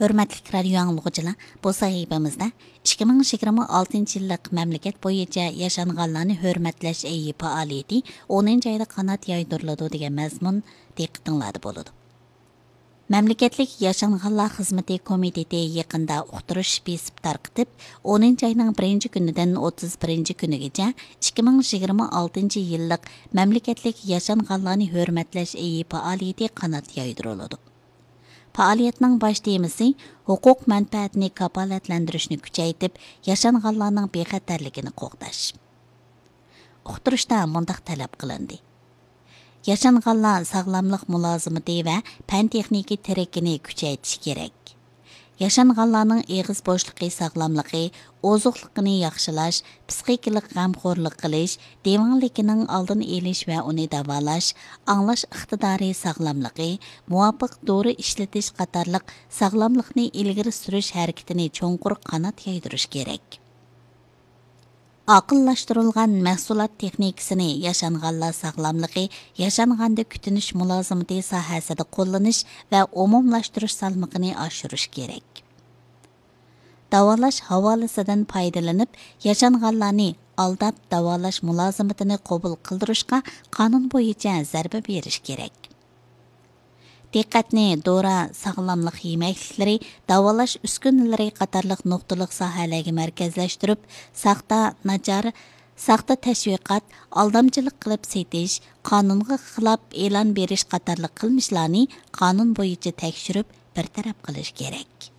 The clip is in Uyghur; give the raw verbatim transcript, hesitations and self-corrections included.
ھۆرمەتلىك رادىيو ئاڭلىغۇچىلار، بۇ سەھىپىمىزدە ئىككى مىڭ يىگىرمە ئالتىنچى يىللىق مەملىكەت بويىچە ياشانغانلارنى ھۆرمەتلەش ئېيى پائالىيىتى ئونىنچى ئايدا قانات يايدۇرۇلىدۇ دېگەن مەزمۇن دىققىتىڭلاردا بولىدۇ. مەملىكەتلىك ياشانغانلار خىزمىتى كومىتېتى يېقىندا ئۇقتۇرۇش بېسىپ تارقىتىپ، ئونىنچى ئاينىڭ بىرىنچى كۈنىدىن ئوتتۇز بىرىنچى كۈنىگىچە ئىككى مىڭ يىگىرمە ئالتىنچى يىللىق مەملىكەتلىك ياشانغانلارنى ھۆرمەتلەش ئېيى پائالىيىتى قانات يايدۇرۇلىدۇ. پائالىيەتنىڭ باش تېمىسى ھوقۇق مەنپەئەتنى كاپالەتلەندۈرۈشنى كۈچەيتىپ، ياشانغانلارنىڭ بىخەتەرلىكىنى قوغداش. ئۇقتۇرۇشتا مۇنداق تەلەپ قىلىندى: ياشانغانلار ساغلاملىق مۇلازىمىتى ۋە پەن تېخنىكا تىرىكىنى كۈچەيتىش كېرەك. ياشانغانلارنىڭ ئېغىز بوشلۇقى ساغلاملىقى، ئوزۇقلۇقىنى ياخشىلاش، پىسخىكىلىق غەمخورلۇق قىلىش، دېۋەڭلىكىنىڭ ئالدىنى ئېلىش ۋە ئۇنى داۋالاش، ئاڭلاش ئىقتىدارى ساغلاملىقى، مۇۋاپىق دورا ئىشلىتىش قاتارلىق ساغلاملىقنى ئىلگىرى سۈرۈش ھەرىكىتىنى چوڭقۇر قانات يايدۇرۇش كېرەك. ئاقىللاشتۇرۇلغان مەھسۇلات تېخنىكىسىنى ياشانغانلار ساغلاملىقى، ياشانغاندا كۈتۈنۈش مۇلازىمىتى ساھەسىدە قوللىنىش ۋە ئومۇملاشتۇرۇش سالمىقىنى ئاشۇرۇش كېرەك. داۋالاش ھاۋالىسىدىن پايدىلىنىپ، ياشانغانلارنى ئالداپ داۋالاش مۇلازىمىتىنى قوبۇل قىلدۇرۇشقا قانۇن بويىچە زەربە بېرىش كېرەك. دىققەتنى دورا، ساغلاملىق يېمەكلىكلىرى، داۋالاش ئۈسكۈنىلىرى قاتارلىق نۇقتىلىق ساھەلەرگە مەركەزلەشتۈرۈپ، ساختا، ناچار، ساختا تەشۋىقات، ئالدامچىلىق قىلىپ سېتىش، قانۇنغا خىلاپ ئېلان بېرىش قاتارلىق قىلمىشلارنى قانۇن بويىچە تەكشۈرۈپ، بىر تەرەپ قىلىش كېرەك.